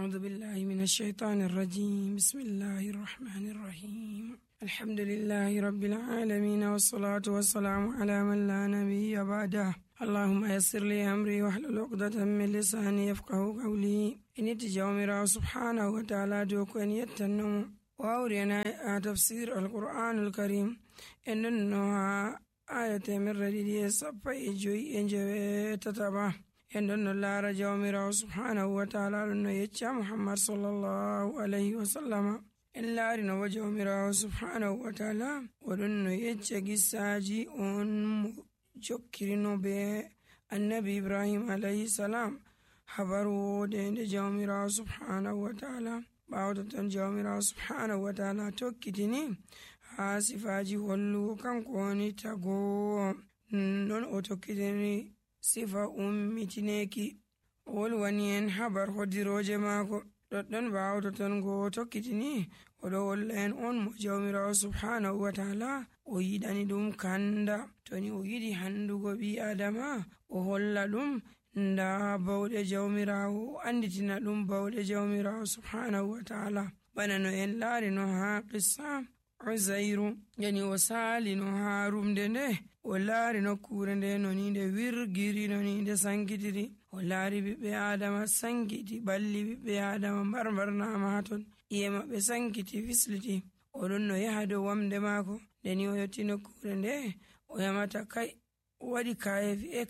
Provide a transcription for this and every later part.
أعوذ بالله من الشيطان الرجيم. بسم الله الرحمن الرحيم. الحمد لله رب العالمين، والصلاة والسلام على من لا نبي بعده. اللهم يسر لي أمري واحلل عقدة من لساني يفقه قولي. إن تجاومر سبحانه وتعالى دوك أن يتنم وأورينا تفسير القرآن الكريم إنها آية من رديد صفا إجوي إنجوي تتبع إن الله رجاومر سبحانه وتعالى لأنه يتشى محمد صلى الله عليه وسلم إلا أرنا وجاومر سبحانه وتعالى ولأنه يتشى قساجي أن جكرنا بالنبي إبراهيم عليه السلام حبروا دين جاومر سبحانه وتعالى باوتن جاومر سبحانه وتعالى توكتني sifaji hollu kanko woni tago non o tokkitini sifa ummitineki o wolwani en habar hodiroje maako ɗoɗɗon bawto ton go tokkitini oɗo wolla en on mo jawmirawo subhanahu wa ta'ala o yiɗani ɗum kanda toni o yiɗi handugo ɓi adama o holla ɗum nda bawɗe jawmirawo o anditina ɗum bawɗe jawmirawo subhanahu wa ta'ala bana no en laari no ha qissa Uzairu yani o sali no harumde nde o laari nokkure nde noni nde wirgiri noni nde sankitiri o laari ɓiɓɓe adama sankiti balli ɓiɓɓe adama mbarnama haton iye maɓɓe sankiti fisliti oɗon no yaha dow wamde maako ndeni o yetti nokkure nde o yamata kai waɗi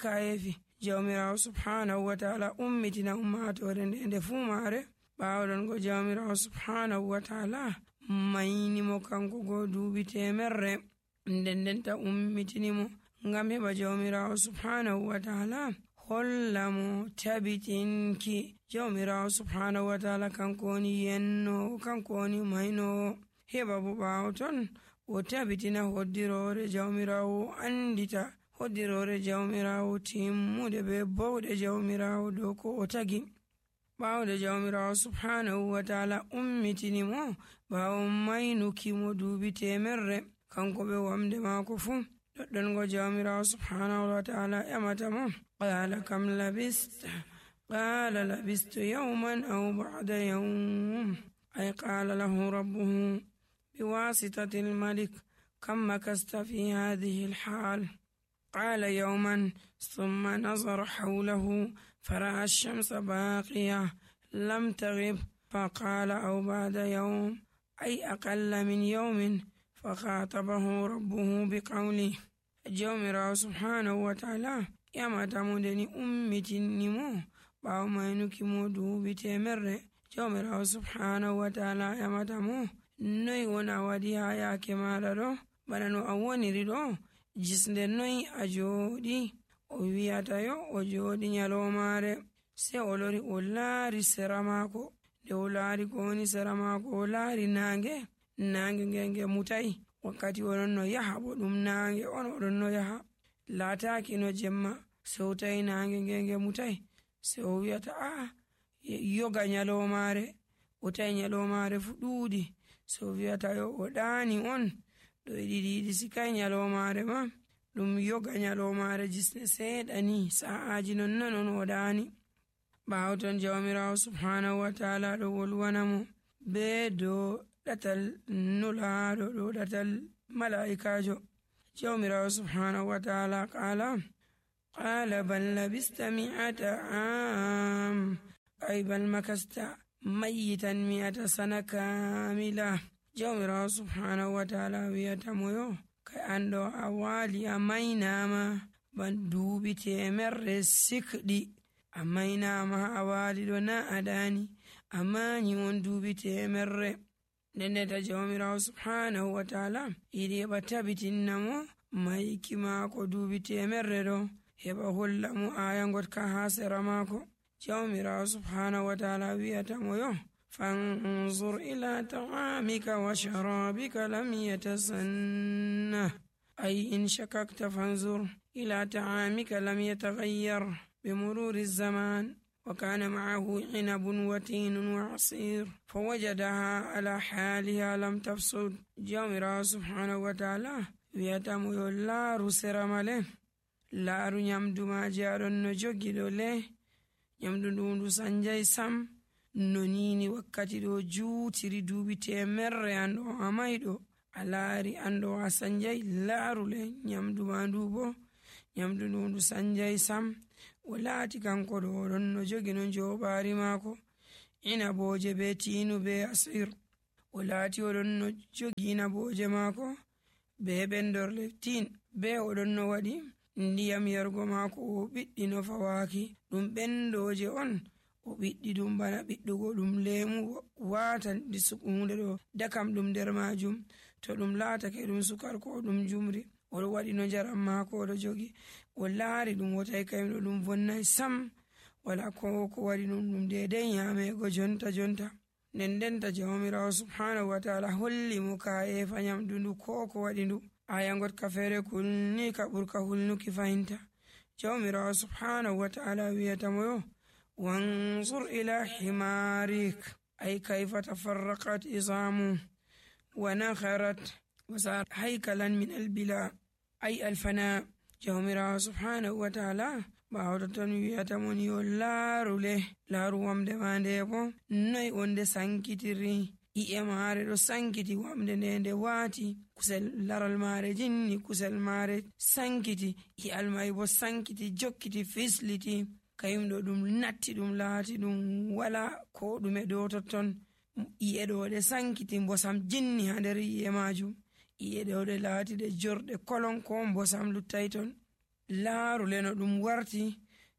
kayefi jawmirawo subhanahu wa ta'ala ummitina ummatore nde fuu maare ɓawɗon go jawmirawo subhanahu wa ta'ala maynimo kanko go duuɓi temerre ndendenta ummitinimo ngam heɓa jawmirawo subhanahu wa ta'ala holla mo tabitinki jawmirawo subhanahu wa ta'ala kanko woni yennowo kanko woni maynowo heɓa bo ɓawo ton o tabitina hoddirore jawmirawo andita hoddirore jawmirawo timmude be bawɗe jawmirawo dow ko o tagi ɓawde jawmirawo subhanahu wa ta'ala ummitinimo ɓawo maynukimo duuɓi temerre kanko ɓe wamde maako fuu ɗoɗɗon go jawmirawo subhanahu wa ta'ala ƴamata mo qala kam labista qala labistu yawman aw ba'da yawm ay qala lahu rabbuhu biwasitati almalik kam makasta fi hadhihi alhal قال يوما ثم نظر حوله فرأى الشمس باقية لم تغب فقال أو بعد يوم أي أقل من يوم فخاطبه ربه بقوله جومر سبحانه وتعالى يما تمودني أمتنمو باو مينوكي مودو بتمر جومر سبحانه وتعالى يما تمو نوي ونا وديها يا كمالرو بنانو أوني ردو jisnde noyi a jooɗi o wiyata yo o jooɗi nyalomare se o lori o laari sera maako nde o laari ko woni sera maako o laari naange nge mutayi wakkati oɗon no yaha bo ɗum naange on oɗon no yaha laataaki no jemma se o tawi naange nge mutayi se o wiyata yoga nyalomare o tawi nyalomare fu ɗuuɗi se o wiyata yo o ɗaani on ɗo ɗiɗi sikai nyalomare ma ɗum yoga nyalomare jisne seeɗani sa'aji nonnon o ɗaani ɓawo ton jawmirawo subhanahu wa ta'ala ɗo wolwanamo be dow ɗatal nulaɗo ɗo ɗatal mala'ikajo jawmirawo subhanahu wa ta'ala qala bal labista mi'ata am ay bal makasta mayitan mi'ata sana kamila jawmirawo subhanahu wa ta'ala wiyata moyo kai ando a waali a maynama ban duuɓi temerre sikɗi a maynama a waali ɗo na a ɗaani a mañi on duuɓi temerre ndendeta jawmirawo subhanahu wa ta'ala yiɗi heɓa tabitinnamo mayki maako duuɓi temerre ɗo heɓa holla mo aya gotka ha sera maako jawmirawo subhanahu wa ta'ala wiyata moyo فانظر إلى طعامك وشرابك لم يتسنه أي إن شككت فانظر إلى طعامك لم يتغير بمرور الزمان وكان معه عنب وتين وعصير فوجدها على حالها لم تفسد جامرا سبحانه وتعالى ويتم يولار سرمله laaru nyamdu ma jaɗon no jogi ɗo le nyamdu ndu sanjay sam no nini wakkati ɗo juutiri duuɓi temerre an ɗo a mayɗo a laari an ɗo a sanjay laarule nyamdu ma ndu bo nyamdu ndu sanjay sam. O laati kanko ɗo oɗon no jogi no joɓaari maako inaboje be tiinu be asir. O laati oɗon no jogi inaboje maako be ɓendorle tin be oɗon no waɗi ndiyam yargo maako o ɓiɗɗi no fawaaki ɗum ɓendoje on o ɓiɗɗi ɗum bana ɓiɗɗugo ɗum leemu waata hunde ɗo dakam ɗum nder majum to ɗum laatake ɗum sukar ko ɗum jumri oɗo waɗi no njaram maako oɗo jogi o laari ɗum o tawi kayim ɗo ɗum vonnay sam wala ko waɗi ɗum dedai nyamego jonta nden ndenta jawmirawo subhanahu wa ta'ala holli mo ka'efa nyamdu ndu ko waɗi ndu. aya gotka feere kulni ka ɓurka hulnuki fahimta. jawmirawo subhanahu wa ta'ala wiyatamo yo wanzur ila himarik ay kayfa tafarraqat izamu wa nakharat wa sar haykalan min albila ay alfana. jawmirawo subhanahu wa ta'ala ɓawo ton wiyatamo ni yo laaru wamde ma nde bo noy on nde sankitiri i'e maare ɗo sankiti wamde nde waati kusel laral maare jinni kusel maare sankiti i'al mai bo sankiti jokkiti fisliti kayum ɗo ɗum natti ɗum laati ɗum wala ko ɗume dow totton. i'e ɗo ɗe sankiti mbosam jinni ha nder i'e majum i'e ɗo ɗe laati ɗe jorɗe kolon ko mbosam luttai ton. laarule no ɗum warti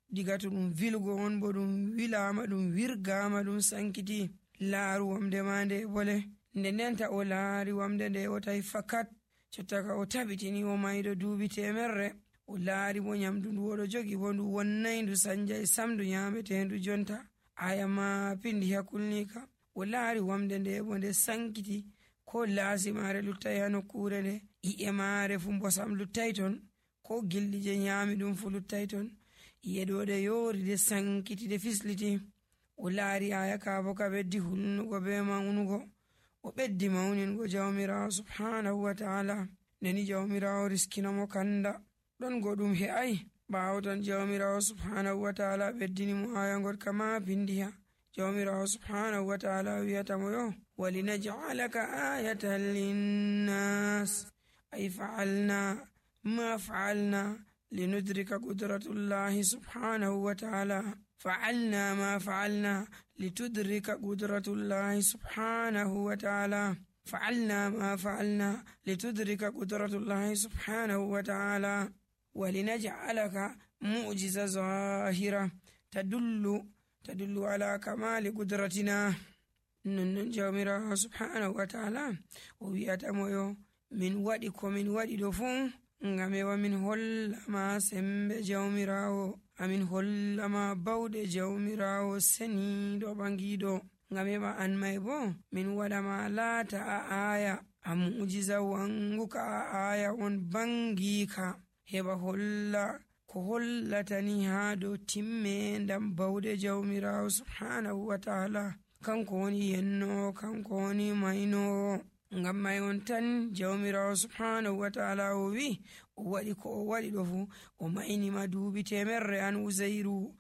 diga to ɗum vilgo on bo ɗum wilama ɗum wirgama ɗum sankiti. laaru wamde ma nde bole ndenta o laari wamde nde o tawi fakat jottaka o tabitini o mayɗo duuɓi temerre o laari bo nyamdu ndu oɗo jogi bo ndu wonnay ndu sanjay sam ndu nyametendu jonta. aya ma pindi hakulnika o laari wamde nde bo nde sankiti ko laasi maare luttai ha nokkure nde i'e maare fu mbosam luttai ton ko gilɗi je nyami ɗum fu luttai ton i'e ɗo ɗe yoori de sankiti de fisliti. o laari aya ka bo ka ɓeddi hulnugo be mawnugo o ɓeddi mawningo jawmirawo subhanahu wa ta'ala neni jawmirawo riskinamo kanda ɗon goɗɗum he'ai ɓawo ton jawmirawo subhanahu wa ta'ala ɓeddini mo aya gotka ma pindiha. jawmirawo subhanahu wa ta'ala wiyatamo yo walinaj'alaka ayatan linnas ay fa'alna ma fa'alna linudrika qudratullahi subhanahu wa ta'ala فعلنا ما فعلنا لتدرك قدرة الله سبحانه وتعالى فعلنا ما فعلنا لتدرك قدرة الله سبحانه وتعالى ولنجعلك معجزة ظاهرة تدل على كمال قدرتنا. جامرا سبحانه وتعالى ويأتمو من ودي دفون ngame wamin hollama sembe jawmirawo amin hollama bawɗe jawmirawo seniɗo ɓangiɗo ngame ma an may bo min waɗama laata a aya a mu'jiza wanguka a aya on bangika heɓa holla ko hollatani ha dow timmendam bawɗe jawmirawo subhanahu wa ta'ala kanko woni yenno kanko woni maynowo. ngam may on tan jawmirawo subhanahu wa ta'ala o wi o waɗi ko o waɗi ɗo fu o maynima duuɓi temerre an uzairu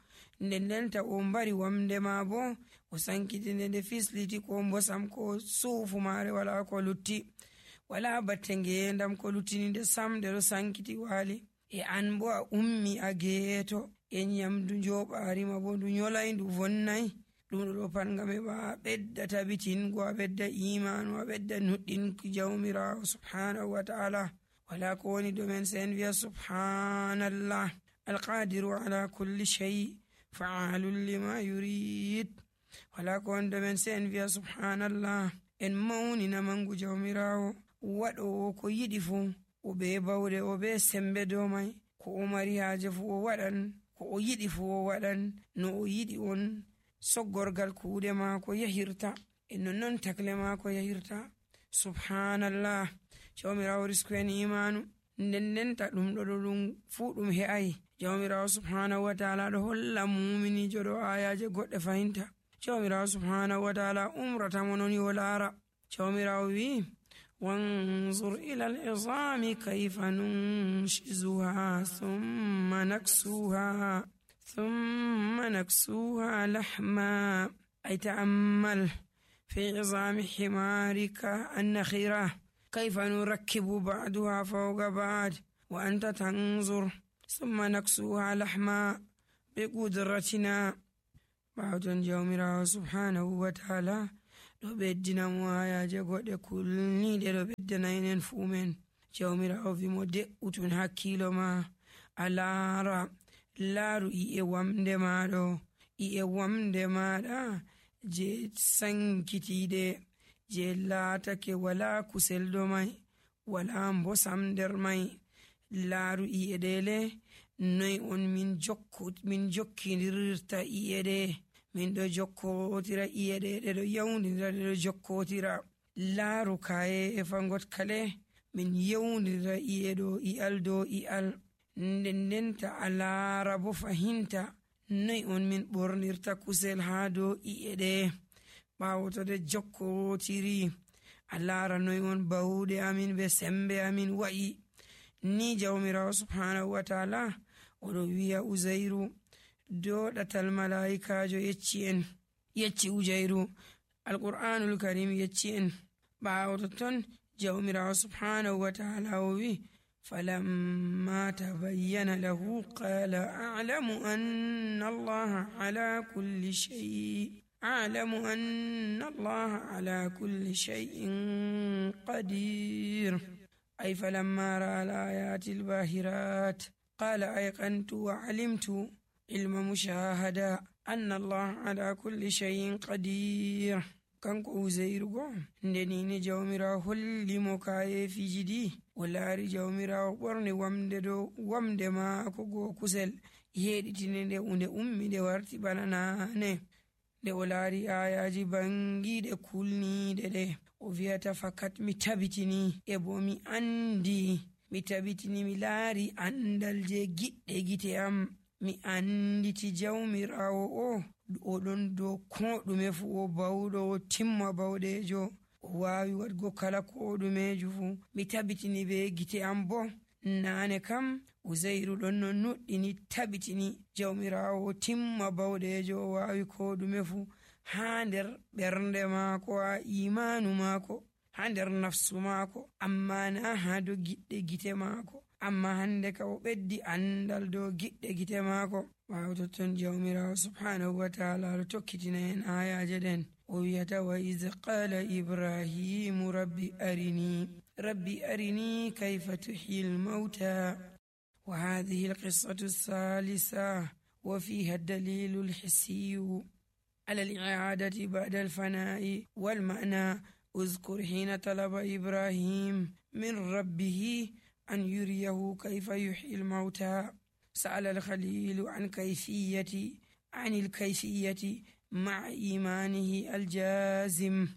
ndenta o mbari wamde ma bo o sankiti nde fisliti ko mbosam ko suufu maare wala ko lutti wala batte ngendam ko luttini nde sam nde ɗo sankiti waali e an bo a ummi a geeto e nyamdu njoɓarima bo ndu nyolay ndu vonnay ɗum ɗo pat ngam heɓa a ɓedda tabitingo a ɓedda imanu a ɓedda nuɗɗinki jawmirawo subhanahu wa ta'ala. wala ko woni domen sen wiya subhanallah alqadiru ala kulli shay fa'alun lima yurid. wala ko woni domen sen wiya subhanallah en mawnina mangu jawmirawo waɗowo ko yiɗi fu o be bawɗe o be sembe dow may ko o mari haaje fu o waɗan ko o yiɗi fu o waɗan no o yiɗi on soggorgal kuuɗe maako yahirta e nonnon takle maako yahirta. subhanallah jawmirawo risku en imanu ndendenta ɗum ɗo ɗum fuu ɗum he'ai jawmirawo subhanahu wa ta'ala ɗo holla muminijo ɗo ayaje goɗɗe fahimta. jawmirawo subhanahu wa ta'ala umrata mo non yo laara. jawmirawo wi wanzur ila al-izami kayfa nunshizuha thumma naksuha lahma أي تأمل في عظام حمارك النخرة كيف نركب بعضها فوق بعض وأنت تنظر ثم نكسوها لحما بقدرتنا. بعضن جومرا سبحانه وتعالى ɗo ɓeddina mo ayaje goɗɗe kulniɗe ɗo ɓeddana enen fuu men. Jawmirawo wimo de'utun hakkilo ma a laaru i'e wamde maɗo, i'e wamde maɗa je sankitiɗe je laatake wala kusel do mai wala mbosam nder mai. Laaru i'e ɗele noy on min jokkidirta i'e ɗe, min ɗo jokkotira i'e ɗe ɗo yawdidira ɗe ɗo jokkotira. Laaru kaye e fangot kale min yawdidira i'e ɗo i'al dow i'al. Ndenta a laara bo fahinta noy on min ɓornirta kusel ha dow i'e ɗe ɓawo to ɗe jokkotiri. A laara noy on bawuɗe amin be sembe amin wa'i. Ni jawmirawo subhanahu wa ta'ala oɗo wiya Uzairu doɗatal malaikajo yecci Uzairu, alqur'anul karim yecci en. ɓawo ton jawmirawo subhanahu wa ta'ala o wi فلما تبين له قال أعلم أن الله على كل شيء قدير. أي فلما رأى الآيات الباهرات قال أيقنت وعلمت علم مشاهدة أن الله على كل شيء قدير. kanko Uzairu go ndenini jawmirawo hollimo kaye fijidi o laari jawmirawo ɓorni wamde maako go kusel yeɗitine nde unde ummi nde warti bana nane. Nde o laari ayaji bangiɗe kulniɗe ɗe o wiyata fakat mi tabitini e bo mi andi, mi tabitini mi laari andal je giɗɗe gite am. Mi anditi jawmirawo oɗon dow ko ɗume fu, o bawɗo o timma bawɗejo, o wawi waɗgo kala ko ɗumeju fu. Mi tabitini be gite am bo nane kam Uzairu ɗon no nuɗɗini tabitini jawmirawo o timma bawɗejo, o wawi ko ɗume fu ha nder ɓernde maako, ha imanu maako, ha nder nafsu maako, amma na ha dow giɗɗe gite maako. Amma hande ka o ɓeddi andal dow giɗɗe gite maako. ɓawo totton jawmirawo subhanahu wa ta'ala ɗo tokkitina en ayaje ɗen o wiyata wa iz qala ibrahimu rabbi arini kayfa tuhyi lmauta. wa hadhihi alqissatu althalitha wa fiha ad-dalilu alhissiyu ala al-i'adati ba'da al-fana'i wal-ma'na. اذكر حين طلب إبراهيم من ربه أن يريه كيف يحيي الموتى. سأل الخليل عن الكيفية مع إيمانه الجازم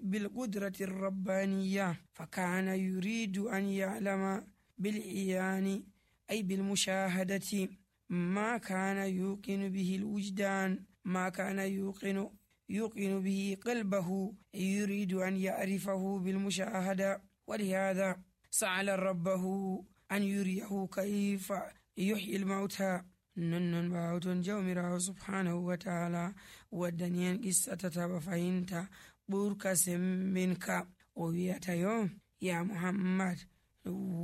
بالقدرة الربانية، فكان يريد أن يعلم بالعيان أي بالمشاهدة ما كان يوقن به الوجدان، ما كان يوقن به قلبه، يريد أن يعرفه بالمشاهدة. ولهذا سأل ربه أن يريه كيف يحيي الموتى. ننن باوتون جومرا سبحانه وتعالى ودنيان قصة تتبا فهمتا بوركا سمبنكا وويتا يوم يا محمد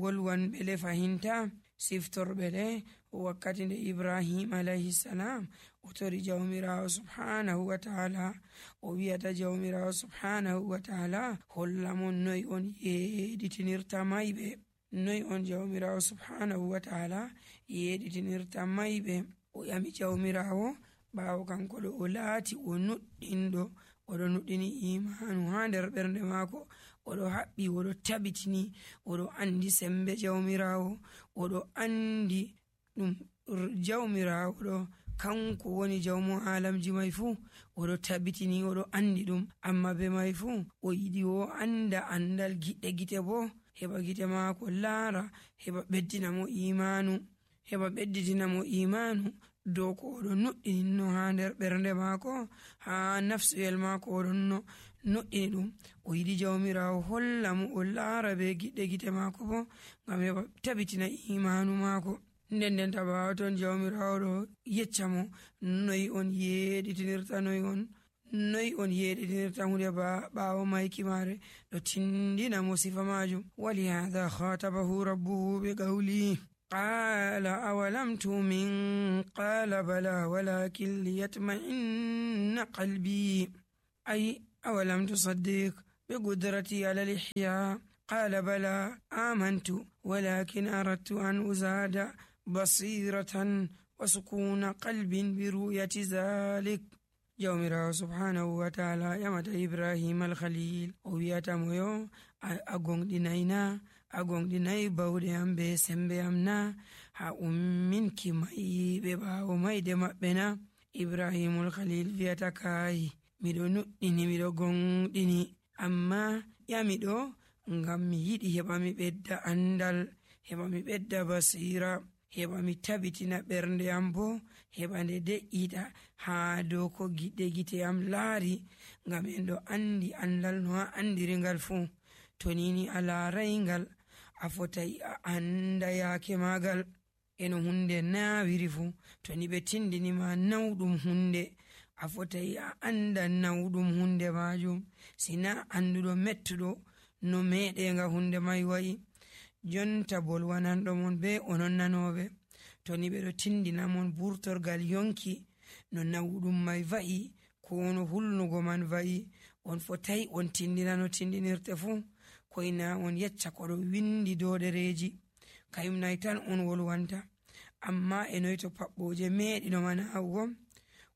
wolwan ɓele fahinta siftor ɓele wakkati nde Ibrahim alayhi salam o tori jawmirawo subhanahu wa ta'ala o wiyata jawmirawo subhanahu wa ta'ala hollamon noy on yeɗitinirta mayɓe, noy on jawmirawo subhanahu wa ta'ala yeɗitinirta mayɓe. o yami jawmirawo ɓawo kanko ɗo o laati o nuɗɗinɗo, oɗo nuɗɗini imanu ha nder ɓernde maako, oɗo haɓɓi, oɗo tabitini, oɗo andi sembe jawmirawo, oɗo andi ɗum jawmirawo ɗo kanko woni jawmo alamji mai fuu, oɗo tabitini oɗo andi ɗum. Amma be mai fuu o yiɗi o anda andal giɗɗe gite bo, heɓa gite maako laara, heɓa ɓedditina mo imanu dow ko oɗo nuɗɗininno ha nder ɓernde maako, ha nafsuyel maako oɗon no nuɗɗini ɗum. o yiɗi jawmirawo holla mo o laara be giɗɗe gite maako bo ngam heɓa tabitina imanu maako. nden ɓaawo ton jawmirawo ɗo yecca mo noyi on yeɗitinirta hunde ɓaawo mayki mare ɗo tindina mo sifa majum. wali hada khatabahu rabbuhu bi qawli qala awalam tu'min qala bala walakin liyatma'inna qalbi ay awalam tusaddiq bi qudrati ala al-ihya qala bala amantu walakin aradtu an uzada basiratan wa sukuna qalbin bi ru'yati zalik. jawmirawo subhanahu wa ta'ala yamata Ibrahim al-Khalil o wiyata mo yo a gonɗinayi bawɗe am be sembe am na, ha umminki mai ɓe ɓaawo mayde maɓɓe na. Ibrahimul Khalil wiyata kai miɗo nuɗɗini miɗo gonɗini amma ƴamiɗo ngam mi yiɗi heɓa mi ɓedda andal, heɓa mi ɓedda basira, heɓa mi tabitina ɓernde am bo heɓa nde de'ita ha dow ko gite am laari, ngam en ɗo andi andal no a andiri ngal fuu. to nini a laarai ngal a fotai a anda yaake magal eno hunde nawiri fuu. to ni ɓe tindinima nawɗum hunde a fotai a anda nawɗum hunde majum, sina anduɗo mettuɗo no meɗenga hunde mai wa'i. jonta bolwananɗo mon be onon nanoɓe, to ni ɓe ɗo tindina mon burtorgal yonki no nawɗum mai va'i ko no hulnugo man va'i, on fotai on tindina no tindinirte fuu. koyna on yecca ko ɗo windi dow ɗereji kayum nay tan on wolwanta, amma e noyto paɓɓoje meɗino manawugo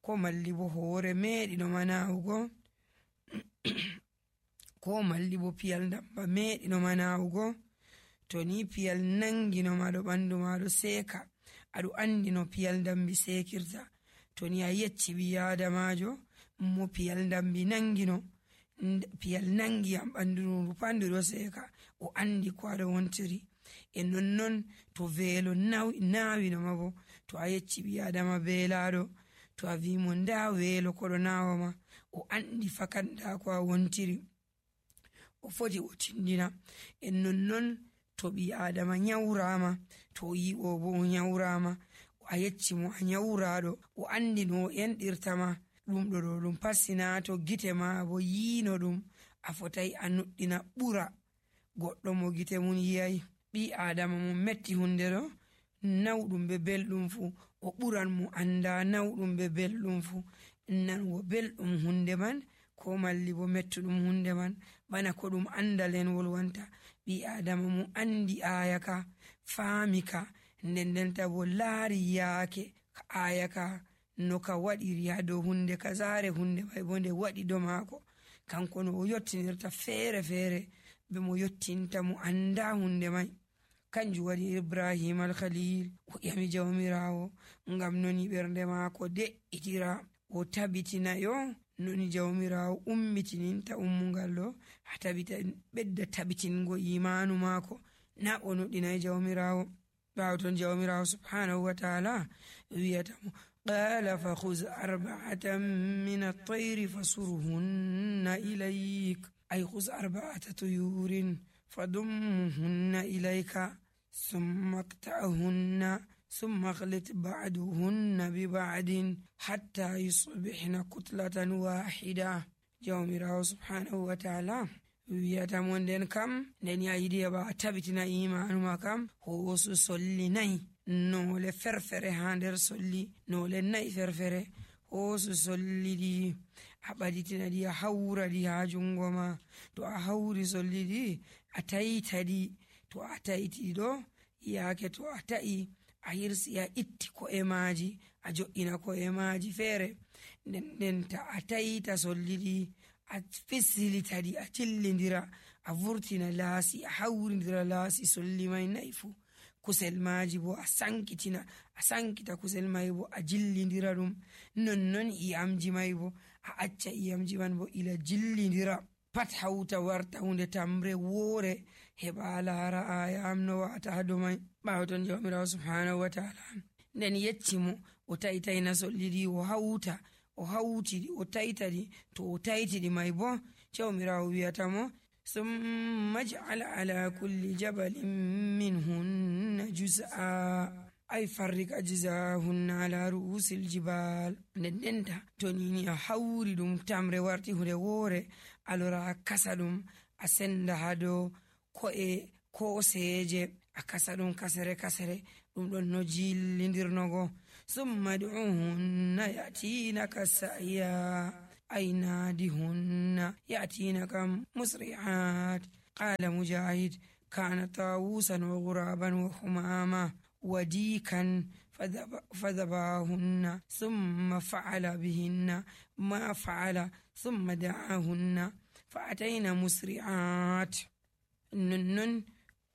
ko malli bo hoore meɗino manawugo ko malli bo piyal dabba meɗino manawugo. to ni piyal nanginoma ɗo ɓandu maɗo seeka aɗo andi no piyal dambi sekirta. to ni a yecci ɓi adamajo mo piyal dambi nangino, piyal nangi am ɓandu rupandu ɗo seeka, o andi ko aɗo wontiri. e nonnon to veelo nawinoma bo, to a yecci ɓi adama beelaɗo, to a wimo nda weelo koɗo nawoma, o andi fakat nda ko a wontiri, o foti o tindina. en nonnon to ɓi adama nyawrama, to yi o bo o nyawrama, a yecci mo a nyawraɗo, o andi no o enɗirtama, ɗum ɗo ɗo ɗum passina to gite ma bo yino ɗum, a fotai a nuɗɗina ɓura goɗɗo mo gite mum yiyai. ɓi adama mo metti hunde ɗo nawɗum be belɗum fu, o ɓuran mo anda nawɗum be belɗum fu. nango belɗum hunde man ko malli bo mettuɗum hunde man bana ko ɗum andal en wolwanta. ɓi adama mo andi ayaka faamika ndendenta bo laari yaake ka ayaka no ka waɗiri ha dow hunde kazare, hunde mai bo nde waɗi do maako, kanko no o yottinirta feere feere be mo yottinta mo anda hunde mai. kanjum waɗi Ibrahim al-Khalil o ƴami jawmirawo ngam noni ɓernde maako de'itira, o tabitina yo noni jawmirawo ummitininta ummungal ɗo ha ɓedda tabitingo imanu maako, na o nuɗɗinai jawmirawo. ɓawo ton jawmirawo subhanahu wa ta'ala wiyata mo qala fa khuz arba'atan min at-tayri fasurhunna ilayk ay khuz arba'ata tuyurin fadumhunna ilayka thumma qta'hunna ثم اخلط بعدهن ببعد حتى يصبحن كتلة واحدة. jawmirawo subhanahu wa ta'ala wiyata mo nden kam nden yayiɗi heɓa a tabitina imanuma kam hoosu solli nayi, noole ferfere ha nder solli, noole nayi ferfere, hoosu solli ɗi a ɓaditina ɗi a hawra ɗi ha jungo ma. to a hawri solli ɗi a taita ɗi, to a taiti ɗo yaake to a ta'i a hirsi a itti ko'e maji a jo'ina ko'e maji feere, nden ta a taita solli ɗi a fisilita ɗi a jillidira a vurtina laasi a hawridira laasi solli mai nayi fu, kusel maji bo a sankita kusel mai bo a jillidira ɗum, nonnon iyamji mai bo a acca iyamji man bo ila jillidira, pat hauta warta hunde tamre woore heɓa laara ayam no wata ha dow mai. ɓawo ton jawmirawo subhanahu wa ta'ala nden yecci mo o taitaina solli ɗi o hauta o hautiɗi o taitaɗi, to o taitiɗi mai bo jawmirawo wiyata mo summa ij'al ala kulli jabalin minhunna juz'a ay farrik ajzahunna ala ru'usil jibal. Ndendenta to nini a hawri ɗum tamre warti hunde woore, a lora a kasa ɗum a senda ha dow ko'e koseje, a kasa ɗum kasere kasere, ɗum ɗon no jillidirnogo. summa du'uhunna yatinaka sa'ya, ay nadihunna yatinaka musri'at. qala mujahid kana tawusan wa ghuraban wa humama وديكا فذباهن ثم فعل بهن ما فعل ثم دعاهن فأتينا مسرعات. ننن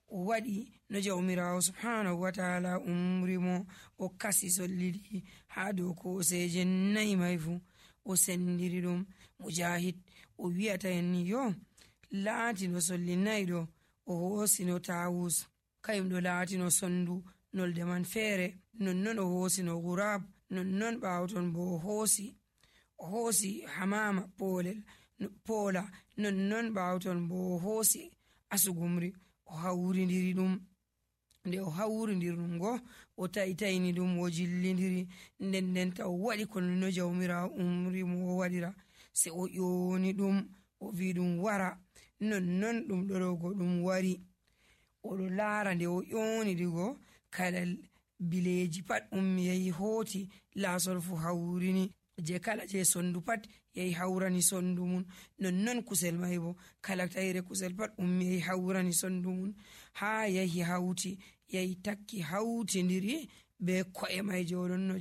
waɗi no jawmirawo subhanahu wa ta'ala umrimo o kasi sollidi ha dow koseje 4 mai fu o sendiri ɗum. mujahid o wi'ata en ni yo laati no solli 4 ɗo o hoosi no tawus, kayum ɗo laati no sondu nolde man feere, nonnon o hoosi no gurab, nonnon ɓawton bo o hoosi hamama poola, nonnon ɓawton bo o hoosi asugumri o hawridiri ɗum. nde o hawridiri ɗum go o taitayni ɗum o jillidiri, ndendenta o waɗi kono no jawmirawo umri mo o waɗira, se o ƴoni ɗum o wi ɗum wara. nonnon ɗum ɗorogo ɗum wari, oɗo laara nde o ƴoni ɗigo kala bileji pat ummi yahi hooti, laasol fu hawrini, je kala je sondu pat yahi hawrani sondu mun, nonnon kusel mai bo kala tayre kusel pat ummi yahi hawrani sondu mun, ha yahi hawti yahi takki hawtidiri be ko'e mai joɗon no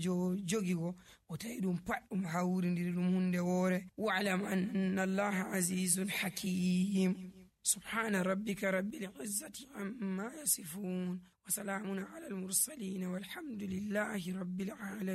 jogigo o tawi ɗum pat ɗum hawridiri ɗum hunde woore. wa'lam anna allaha azizun hakim. subhana rabbika rabbil izzati amma yasifun wa salamun ala al mursalin walhamdulillahi rabbil alamin.